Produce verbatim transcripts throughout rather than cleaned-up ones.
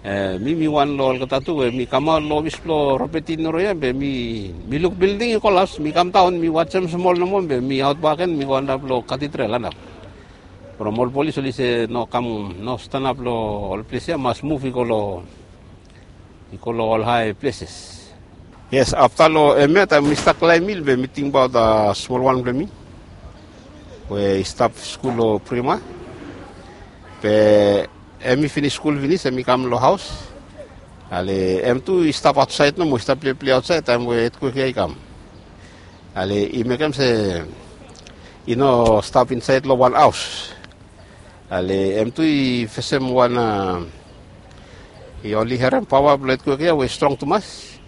E, mi mi wan long olgeta tu we mi kamaot long ofis blong Robert Inoro ya be mi mi luk bilding i kolaps, mi kam daon mi wajem smol nomo be mi aot bak gen mi go antap long katidrel antap. From ol polis oli se no kam, no stanap long ol ples ya, mas muv i go long i go long ol hae pleses. Yes, afta long hemia taem mi stap klaem hil be mi tingbaot smol wan blong mi we i stap skul long Prima. Be hemi finis skul finis, hemi kam long haos. Ale hem tu i stap aotsaed nomo, i stap pleplei aotsaed taem we etkwek ya i kam. Ale i mekem se i no stap insaed long wan haos. Ale hem tu i fesem wan a, i oli harem paoa blong etkwek ya we i strong tumas.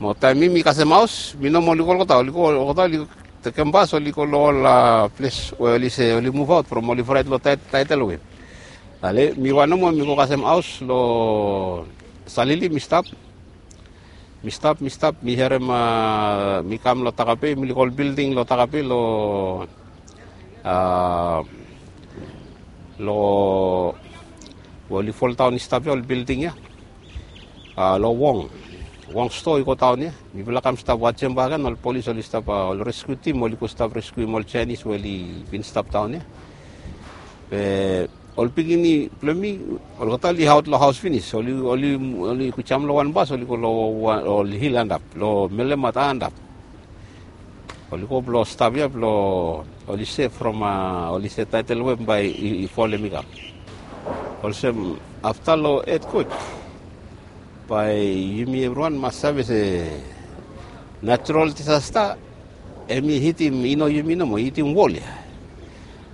Mo taem mi mi kasem haos, mi nomo oli go olgeta, oli go olgeta, oli tekem bas oli go long ol a ples we oli se oli muvaot from oli fraet long taetel we. Ale mi wan nomo mi go kasem haos long Salili mi stap. Mi stap, mi stap, mi harem a, mi kam long Takape, mi luk ol bilding long Takape long a, long we oli foldaon i stap ya ol bilding ya. A, long Wong, Wong stoa i go daon ya. Mifala kam stap wajem bak gen, ol polis oli stap a, ol reskiu tim oli go stap reskiuim ol Jaenis we oli bin stap daon ya. Be ol pikinini blong mi olgeta oli aot long haos finis, oli oli oli go jam long wan bas oli go long wan ol hil antap long Melemata antap. Oli go blong stap ya blong oli se from a, oli se taetel we bae i folem i kam. Olsem afta long etkwek bae yumi evriwan mas save se natural disasta hemi hitim i no yumi nomo, i hitim wol ya.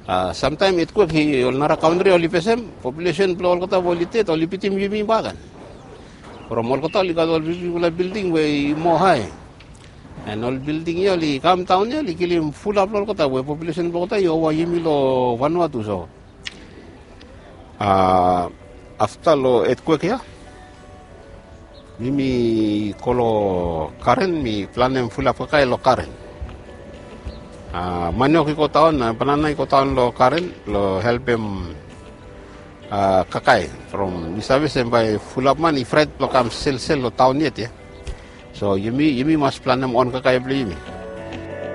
A, samtaem etkwek i ol nara kantri oli fesem, populesen blong olgeta we oli ded oli bitim yumi bak gen. From olgeta oli gat ol bigfala bilding we i moa hae. An ol bilding ya oli kam daon ya oli kilim fulap long olgeta we populesen blong olgeta i ova yumi long Vanuatu. So a, afta long etkwek ya mi mi go long garen, mi planem fulap kakae long garen. A, maniok i go daon, a, banana i go daon long garen long helpem a, kakae. From mi save se bae fulap man i fraet blong kam selsel long taon yet ya. So yumi yumi mas planem on kakae blong yumi.